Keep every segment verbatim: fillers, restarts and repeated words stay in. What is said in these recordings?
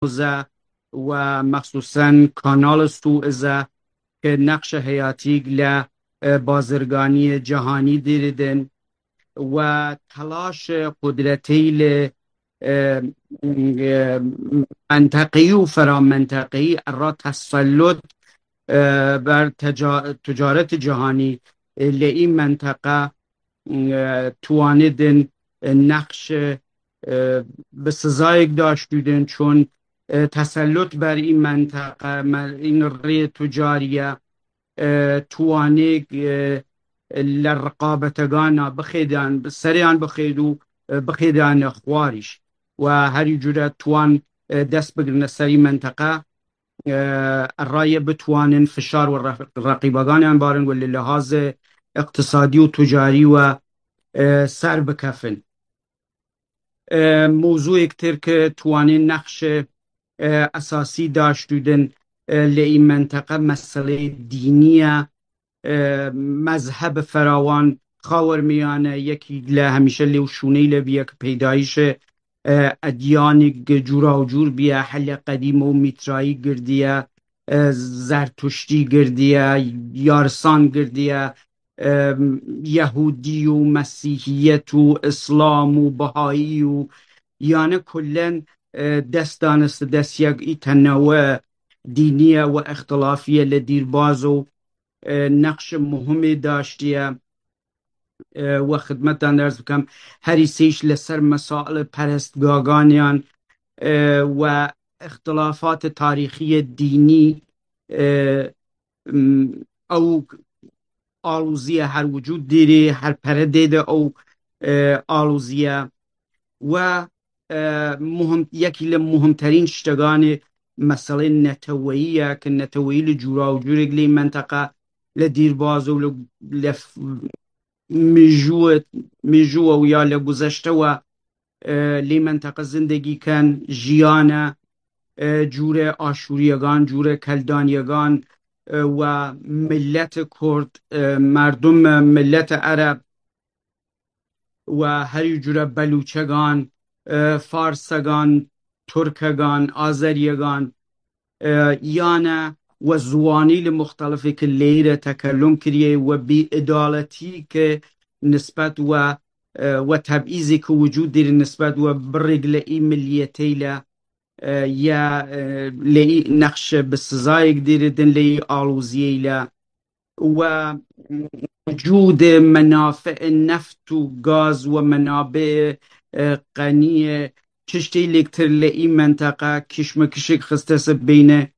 Hormuz e û mexsusen Kanal Suez e ke nexşe heyatîk le, e, bazirganiyê cihanî dîridin û telaş qudreteyî li, e, e, menteqeyî û feramenteqeyî ra tesellut, e, ber teca-, ticaret cihanî, e, li î menteqe, e, tuwanidin, e, nexş, e, bi sizayek daştûdin, çun, e, tesellut ber î menteqe, me-, în rê tucariye, e, tuwanê, e, li riqabetegana bixêdan, sereyan bixêd û, e, bixêdane xwarîş. Û herî cure tuwan, e, dest bigirine serî menteqe, e, raye bitwanin fişar û re-, reqîbaganan barin û li lihazê iqtisadî û tucarî we, e, ser bikefin. E, mewzûyek tir ke tuwanê nexşe, e, esasî daştûdin, e, li î menteqe meseleyê dînî ye. E, mezheb ferawan Xawermiyane yekî le hemîşe lê û şûney le biye ke peydayîşê, e, edyanî cûra û cûr biye, hele qedîm û mîtrayî girdiye, e, zertuştî girdiye, yarsan girdiye, e, yehûdî û mesîhiyet û îslam û bihayî û yani kullen, e, dest daniste dest yek î tenewe dîniye û îxtilafiye li dîrbaz û, e, nexşe muhimê daştiye. E, we xidmetan derz bikem, herî sêş li ser mesail perestgaganiyan, e, we îxtilafat tarîxiye dînî, e, m, ew alûziye her wicûd dîrî, her pere dê de ew, e, alûziye. We, e, muhim, yekî li muhimterîn şteganê meselê neteweyî ye, ke neteweyî li cûra û cûrek lê menteqe li dîrbaz û li, li f-, mijû, mijû ew ya li guzeşte we, e, lê menteqe zindegî ken, jiyane, e, cûre Aşûriyegan, cûre Keldaniyegan, e, we milletê Kurd, e, merdum, e, milletê Ereb, we herî cûre Belûçegan, e, Farsegan, Turkegan, Azeriyegan, e, yane we ziwanî li muxtelifê ke lêyî re tekellum kiriye we bî edaletî ke nisbet we, e, we tebîzê ke wicûd dîrî nisbet we birêk li î miliyetey le, e, ye, e, li î nexşe bi sizayek dîrî din li î alûziyey le. We wicûdê menafiê neft û gaz we menabê, e, qeniyê, tiştê lêktir li î menteqe kişmekişek xiste se beyne,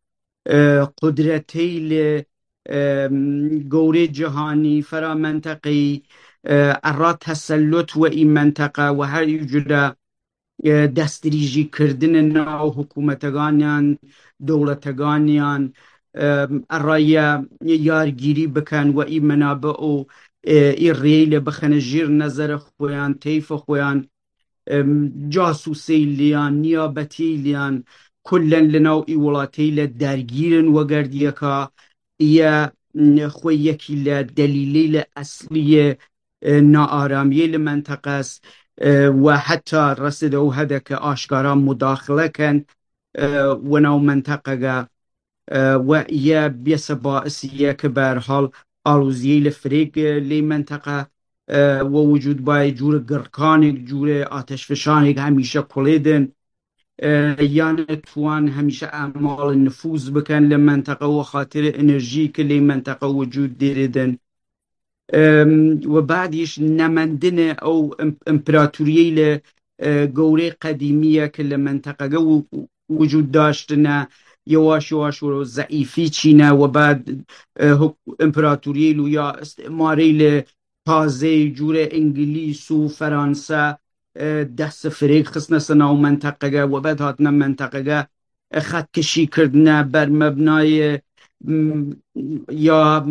e, qudretey li, e, gowrê cihanî, fera menteqeyî, e, era tesellut we î menteqe we her î cure, e, destdirîjî kirdine nav hikûmeteganiyan, dewleteganiyan, e, eraya yargîrî biken we î menabe û, e, î rêyle bixene jîr nezere xweyan, teyfe xweyan, e, casûseyliyan, niyabetiyliyan, kullen li nav î welateyle dergîrin wegerdiyeka ye, xwe yekî le delîleyle esliyê, e, naaramiyê li menteqes, e, we heta reside û hedeke aşkara mudaxile ken, e, we nav menteqege, e, we ye biyese baisî ye ke bi her hal alûziyê li firêk, e, lê menteqe, e, we wicûd bayê cûre girkanek, cûre ateşfişanek hemîşe kulê din. E, yani tuwan hemîşe emal nifûz biken li menteqe we xatirê enerjî ke lê menteqe wicûd dîrî din. Em, we bad îş nemendine ew im-, împeratoriyê li, e, gowrê qedîmî ye ke li menteqege wi-, wicûd daştine, yewaş yewaş wiro zeîfî çîne, we bad, e, huk-, împeratoriyê li ya îstîmarê li tazeyê cûrê Îngilîz û Feransa, e, dest firêk xistine ser nav menteqege, we bad hatine menteqege, e, xetkişî kirdine, ber mebnayê, m, ya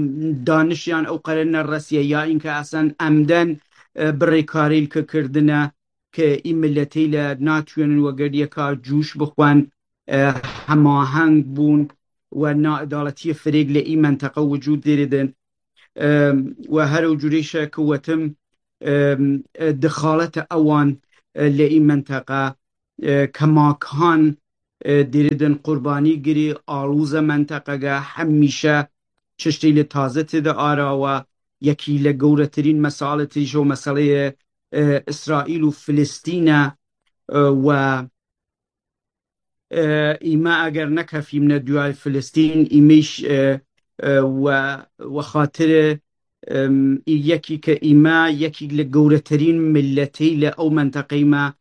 danişiyan ew qere neresiye, ya înke esen emden, e, bi rêkarîl ke kirdine, ke î miletê le natûyenin wegeriye ka cûş bixwen, e, hemaheng bûn we naedaletiyê firêk li î menteqe wicûd dêrî din. E, we her ew cûrê şe ke wetim, e, e, dixalete ewan, e, li î menteqe, e, kemakan, e, dêridin qurbanî girî, alûze menteqege, hemîşe çiştê li taze tê de arawa, yekî li gewretirîn mesale tirîş û meseleyê, e, Îsraîl û Filistîn e, e, we, e, îme eger nekefîmne duyay Filistîn, îmîş, e, e, we, we xatirê, em, yekî ke îme, yekî li gewretirîn milletê li ew menteqeyê me,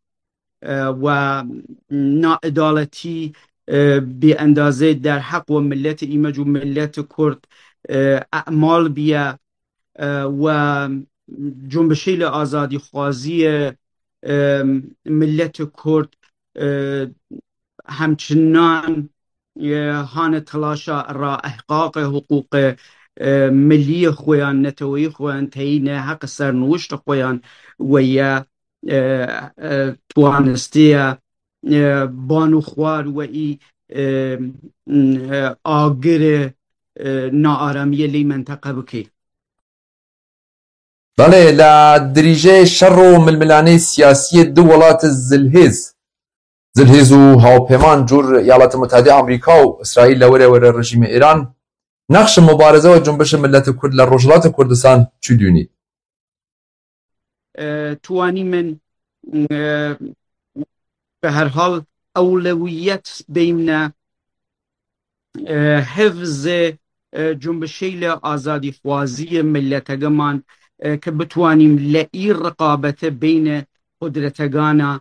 e, we naedaletî, e, bêendazê derheq we milletê îme cû milletê Kurd, e, emal biye, e, we cumbişê li azadîxwaziyê, e, milletê Kurd, e, hemçinan, e, hane telaşa ra ihqaqê huqûqê, e, miliyê xweyan, neteweyî xweyan teyîne, heqê sernûştê xweyan weye, e, e, twanistiye, e, ban û xwar we î, e, e, agirê, e, naaramiyê lê menteqe bike. Belê, li dirîjê şer û milmilanê siyasiyê du welat zilhêz, zilhêz û hawpêman cûr Eyaletê Mutehedê Amerîka û Îsraîl le were were rejîmê Îran, nexşê mubareze û cunbişê miletê Kurd li Rojhilatê Kurdistan çi dûnî? E, tuwanî min, e, bi her hal ewlewiyet bêyne, e, hifzê, e, cumbişê li azadîxwaziyê miletegeman, e, ke bitwanîm li î riqabete bêyne qudretegana,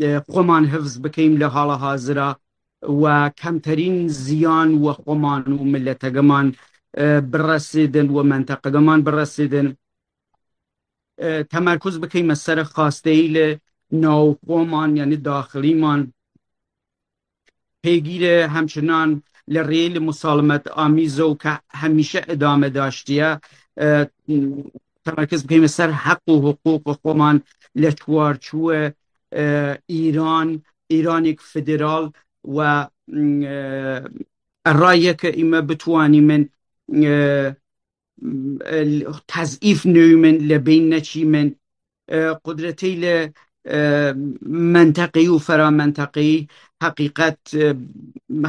e, xweman hifz bikeyim li hala hazira we kemterîn ziyan we xweman û miletegeman, e, biresêdin we menteqegeman biresêdin. E, temerkuz bikeyme ser xasteyî li navxweman, yanî daxilîman. Pêgîre hemçinan li rê li musalimet amîzo ke hemîşe idame daştiye, e, temerkuz bikeyme ser heq û huqûq xweman li çwarçûwe, e, Îran, Îranek federal we, e, erayeke îme bitwanîmin, e, tezîf neyûmin, li bîn neçîmin, e, qudretê li, e, menteqî û feramentaqî heqîqet, e,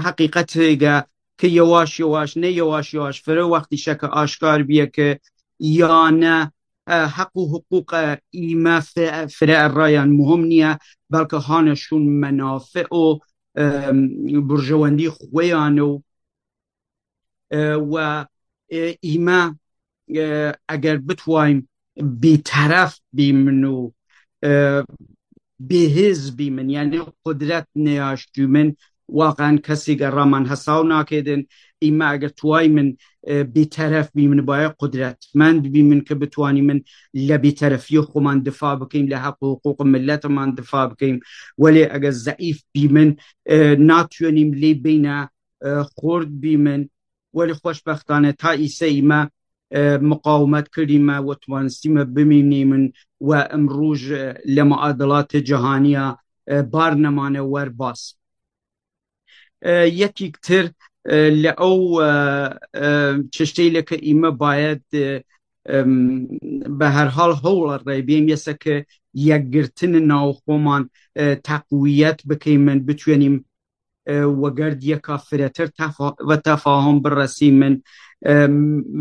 heqîqet hêge ke yewaş yewaş, ne yewaş yewaş, fire wextî şeke aşkar biye ke ya ne, e, heq û huqûqe îme fe-, fire errayan muhim niye, belke hane şûn menafe û, e, burjewendî xweyan û e, we, e, îme, e, eger bitwayim bêteref bîmin û, e, bêhêz bîmin, yanî qudret neyashtimin, waqen kesî ge raman hesaw nakedin. Îme eger twaymin, e, bêteref bîmin, baye qudretmend bîmin ke bitwanîmin le bêterefiyê xweman difa bikeyim, le heq û huqûq mileteman difa bikeyim. Welê eger zeîf bîmin, e, natwanîm lê beyne e, xurt bîmin. Welê xweşbextane ta îse îme, e, miqawimet kirîme we twanistîme bimînîmin we imrûj, e, li miadilatê cihaniya, e, bar nemane werbas. E, yekîktir, e, li ew, e, e, çiştê li ke îme bayed, e, em, bi her hal hewl rê bêm yese ke yekgirtin navxweman, e, teqwiyet bikeymin, bitwenîm e, wegerd yeka firetir tefa-, ve tefahum biresîmin, e,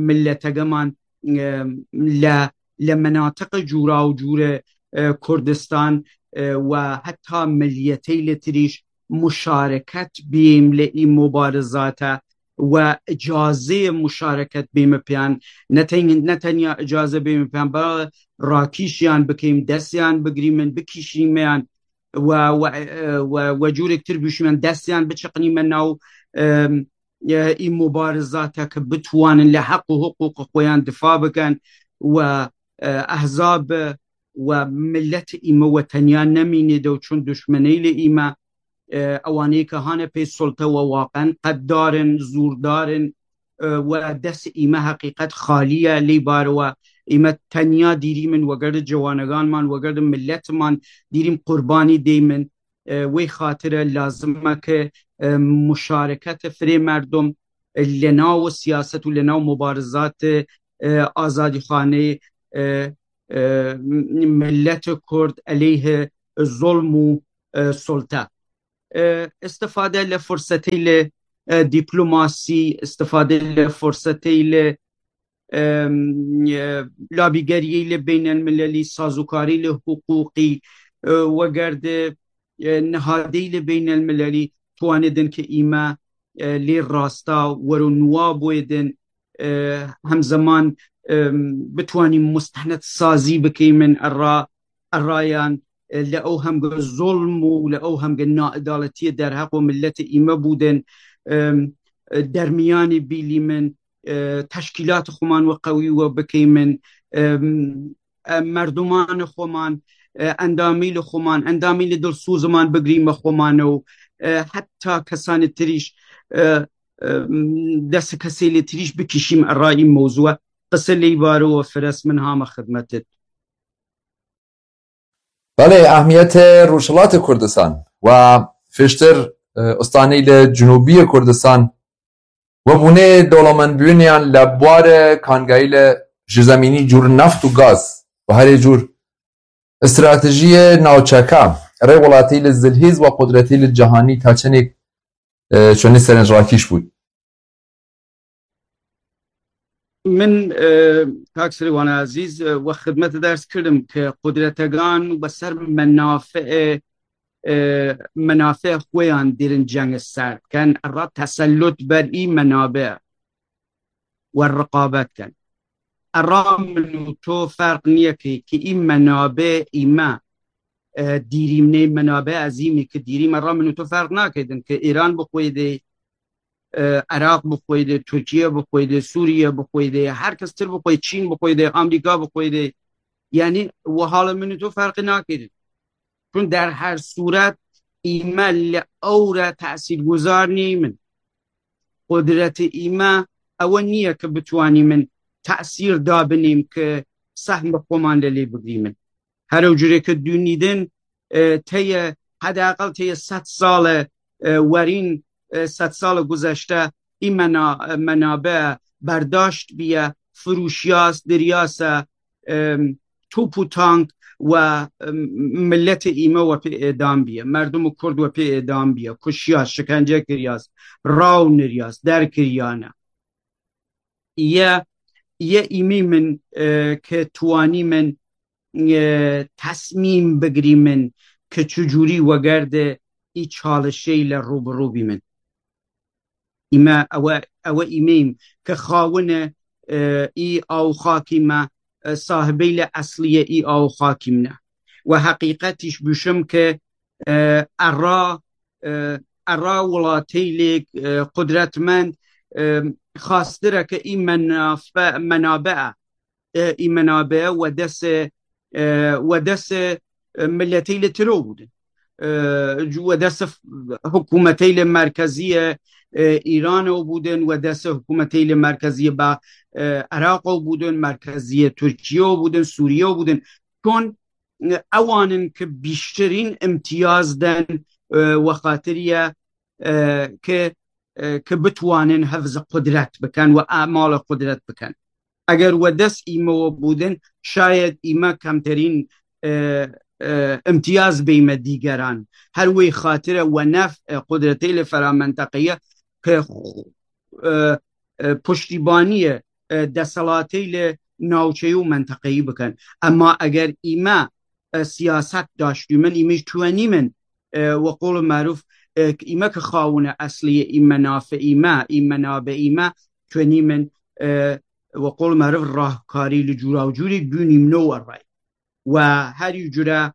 miletegeman, e, le, le menatiqê cûra û cûre, e, Kurdistan, e, ve heta miliyetê li tirîş muşareket bîm li î mubarizate ve icazê muşareket bîme piyan. Ne ten-, ne tenya icaze bîme piyan, bela rakîşiyan bikeyim, destiyan bigirîmin, bikişîmeyan, we, we, we, we cûrek tir bûşimen destiyan biçiqnîme nav, e, e, î mubarizate ke bitwanin li heq û huqûq xweyan difa bikin we, e, ehzab we millet îme we tenya nemînê de û çun duşmeney li îme, e, ewanê ke hane pê sulte we waqen qeddarin, zûrdarin, e, we dest îme heqîqet xalî ye, lê bar we îme tenya dîrîmin wegerde cewaneganman, wegerde milletman dîrîm qurbanî deymin. E, wê xatire lazim e ke, e, muşarekete firê merdum, e, li nav siyaset û li nav mubarizatê, e, azadîxanê, e, e, milletê Kurd eleyhê zulm û, e, sulte. e, istifade li fursetê li, e, dîplomasî, istifade li fursetê li, e, e, labîgeriyê li beynelmilelî, sazûkarî li hiqûqî, e, wegerde, e, nihadê li beynelmilelî tuwanidin ki îme, e, lê rasta wero nuwa bûyedin, e, hemzeman, e, bitwanî mustehnet sazî bikeymin erra, errayan, e, li ew hemge zolm û li ew hemge naedaletiyê derheq û milletê îme bûdin, e, e, dermiyanî bîlîmin, e, teşkîlat xuman we qewî we bikeymin, e, e, merdumanê xweman, e, endamî li xweman, endamî li dilsûziman bigrîme xweman û, e, heta kesanê tirîş, e, e, dest kesê li tirîş bikişîm erayî mewzû. Qise lê îbare û Firas min hame xidmetit. Belê, ehmiyetê Rojhilatê Kurdistan we fêştir, e, ustanî li Cinûbiyê Kurdistan, we bûnê dolemendbûniyan li bwarê kangayî li jirzemînî cûr neft û gaz û herê cûr stratejiyê navçeka rê welatî li zilhîz we qudretî li cihanî ta çenêk, e, çonî serenc rakîş bû. Min, e, kak Sirêwana Ezîz, e, we xidmete ders kirdim ki qudretegan we ser menafeê, e, menafeê xweyan dêrin ceng ser dikin, erra tesellut ber î menabe we riqabet ken. Erra min û to ferq niye ki, ki î menabe î me, e, dîrîmnê menabe ezîmî ki dîrîm erra min û to ferq nakedin ki Îran bi xwê dê, e, Iraq bi xwê dê, Tirkiye bi xwê dê, Sûriye bi xwê dê, her kes tir bi xwê, Çîn bi xwê dê, Amerîka bi xwê dê. Yanî wiha li min û to ferqî nakirin. Çun der her sûret îme li ew re tesîrguzar nîmin. Qudretê îme ewe niye ki bitwanîmin tesîr dabinîm ki sehmê xweman li lê bigirîmin. Her ew curê ki dûnî din, e, teye, hedeqal teye sed sale, e, werîn, e, sed sale guzeşte î mena-, e, menabe berdaşt biye, firûşiyas, diryase, e, top û tank we, e, milletê îme we pê êdam biye, merdum û kurd we pê êdam biye, kuşiyas, şikence kiryas, raw niryas, derkiriyane. Ye, ye îmî min, e, ke tuwanî min, e, tesmîm bigirî min ke çi cûrî wegerde î çalişey le rû bi rû bî min. Îme ewe, ewe îmeyim ke xawine, e, î aw xakî me, e, sahibey le eslî ye î aw xakî min e. We heqîqetîş bûşim ke, e, erra, e, erra welateylêk, e, qudretmend, e, xastire ke î menafe-, menabe e, e, î menabe we dese, e, we dese, e, milletey le tiro bûdin. E, we dese f-, hikûmetey le merkeziye, e, Îrano bûdin, we dese hikûmetey le merkeziye ba, e, Iraqo bûdin, merkeziye Tirkiyeyo bûdin, Sûriyeyo bûdin. Çon, e, ewanin ki bîştirîn imtiyaz den, e, we xatiriye, e, ki, e, ki bitwanin hevz qudret biken we amala qudret biken. Eger we dest îme we bûdin, şayed îme kemterîn, e, e, imtiyaz beyme dîgeran. Her wê xatire we nef, e, qudretê li fera menteqeye ki, e, e, puştîbaniyê, e, deselatê li navçeyî û menteqeyî bikin. Ema eger îme, e, siyaset daştû min, îme ji tuwenî min, e, we qol meruf, e, îme ki xawine eslî î menafe îme, î menabe îme, tuwenî min, e, we qol meruf rahkarî li cûra û cûrî dûnî min o erray. We herî cure,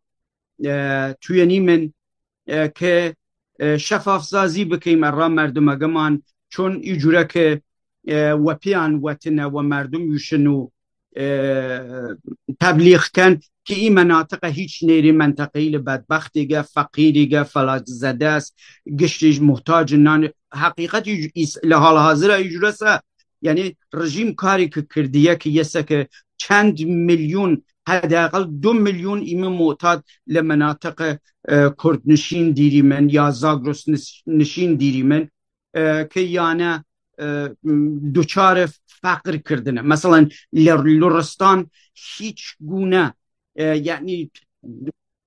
e, tuyenî min, e, ke, e, şefafsazî bikeyim erra merdumege man, çon î cure ke, e, we piyan wetine we merdum yuşin û, e, teblîx ken ki î menatiqe hîç nêrî menteqeyî li bedbextîge, feqîrîge, felaczedes, giştî ji muhtac nan. Heqîqetî îs-, li hal hazira î cure se, yanî rejîm karê ki kirdiye ki yese ki çend milyon, hedeqal du milyon îme muhtad li menatiqe, e, kurdnişîn dîrî min ya zagros niş-, nişîn dîrî min, e, ki yane, e, duçare feqir kirdine. Mesela li Luristan hîç gune, e, yanî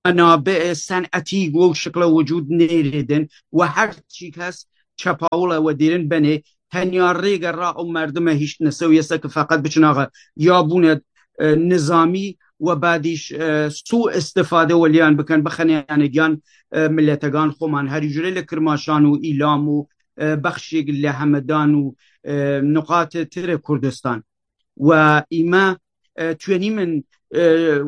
menabe senetî û şikla wicûd nêrêdin û her çîk hest çepawula we dêrin benê. Tenya rêge ra û merdime hiştine sewiyese ki feqet biçinaxe ya bûne e, nizamî we badîş e, su istifade weliyan bikin, bixeneyane giyan e, milletegan xoman. Herî jure li Kirmaşan û Îlam û e, bexşêk li Hemedan û e, nuqatê tirê Kurdistan. We îme e, tuyenîmin e,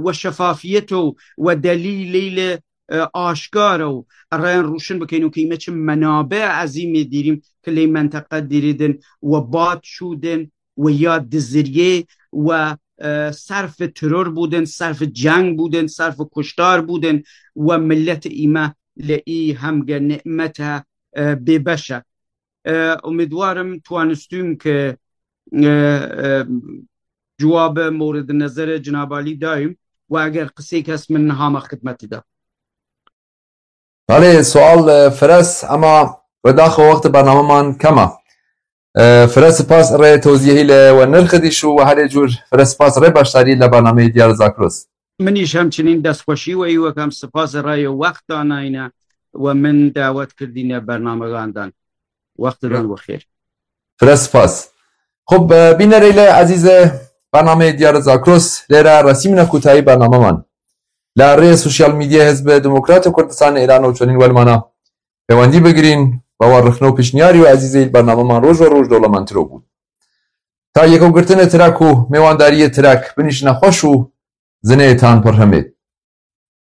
we şefafiyet û we delîlê li e, aşkar û reyên rûşin bikeyn û kîme çi menabe ezîmê dîrîm ki lê menteqe dîrîdin we bat şûdin we ya diziriyê we e, serf teror bûdin, serf ceng bûdin, serf kuştar bûdin we millet îme li î hemge nimete e, bêbeş e. E, umîdwarim twanistûm ki e, e, cewabê mewrid nezerê Cinab Alî dayim û eger qisêk hest min niha me xidmetî de. Belê, sual e, fireh, ema wedaxo wextê bernameman kem e. E, fireh spas rê toziyehî li we nirxidîş û we herê cûr fireh spas rê beşdarî li bernameyê Diyar Zakros. Min îş hemçinîn destxweşî we î wekem spas rayê wext danayne we min dawet kirdîne bernamegandan. Wextidan we xêr. Fireh spas. Xub, e, bînerê li ezîzê bernameyê Diyar Zakros lêre resîmine kûtayî bernameman. Li rêyê sosyal medyayê Hizbê Demokratê Kurdistan Îran û çonîn welmana pêwendî bigirîn, bawer rixne û pêşniyarî û ezîzê îl bernameman roj û roj dewlemendtiro bûn. Ta yekogirtinê tirek û mêwandariyê tirek binîşine xweş û zinê tan pir hemê.